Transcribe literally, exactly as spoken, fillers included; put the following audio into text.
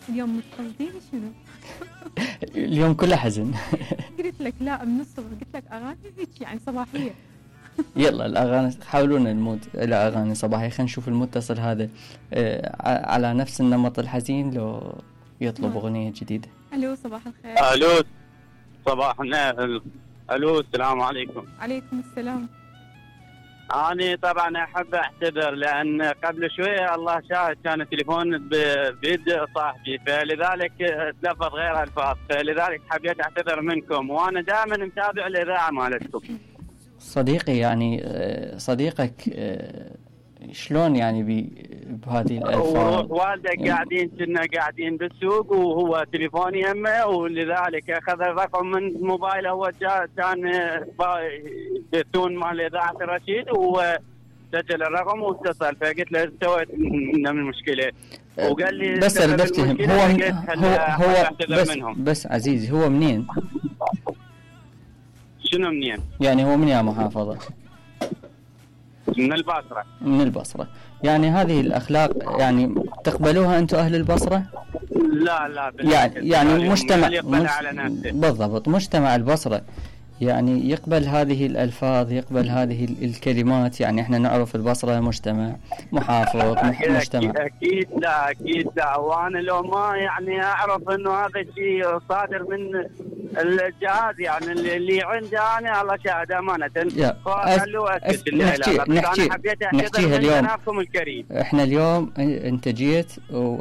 اليوم متقصدين شنو؟ اليوم كله حزن. قلت لك لا من الصبح قلت لك اغاني هيك يعني صباحيه. يلا الاغاني حاولونا المود الى اغاني صباحيه. خلينا نشوف المتصل هذا آه على نفس النمط الحزين لو يطلب نعم. اغنيه جديده. الو صباح الخير. الو صباح النور. الو السلام عليكم. عليكم السلام. أنا طبعا أحب أعتذر لأن قبل شوية الله شاهد كان تليفون بيد صاحبي فلذلك تلفظ غير ألفاظ فلذلك حبيت أعتذر منكم وأنا دائما متابع الإذاعة مالتكم. صديقي يعني صديقك شلون يعني بهذه الألفاظ؟ والدك يعني قاعدين كنا قاعدين بالسوق وهو تليفوني يمه ولذلك أخذ الرقم من موبايله. هو كان بثون مال إذاعة الرشيد وسجل الرقم واتصل فقلت له سويت من المشكلة وقال لي بس أريد أفتهم هو من هو هو بس, منهم. بس عزيزي هو منين؟ شنو منين؟ يعني هو من يا محافظة؟ من البصرة. من البصرة. يعني هذه الأخلاق يعني تقبلوها أنتم أهل البصرة؟ لا لا يعني يعني مجتمع مش... على نفسه. بالضبط مجتمع البصرة يعني يقبل هذه الألفاظ يقبل هذه الكلمات. يعني احنا نعرف البصرة مجتمع محافظ مجتمع. أكيد لا أكيد لا. وأنا لو ما يعني أعرف إنه هذا الشيء صادر من الجهاز يعني اللي عندي أنا الله شاهد أمانة. فخلوا أكد نحكي نحكي نحكيها اليوم. الكريم. احنا اليوم انت جيت و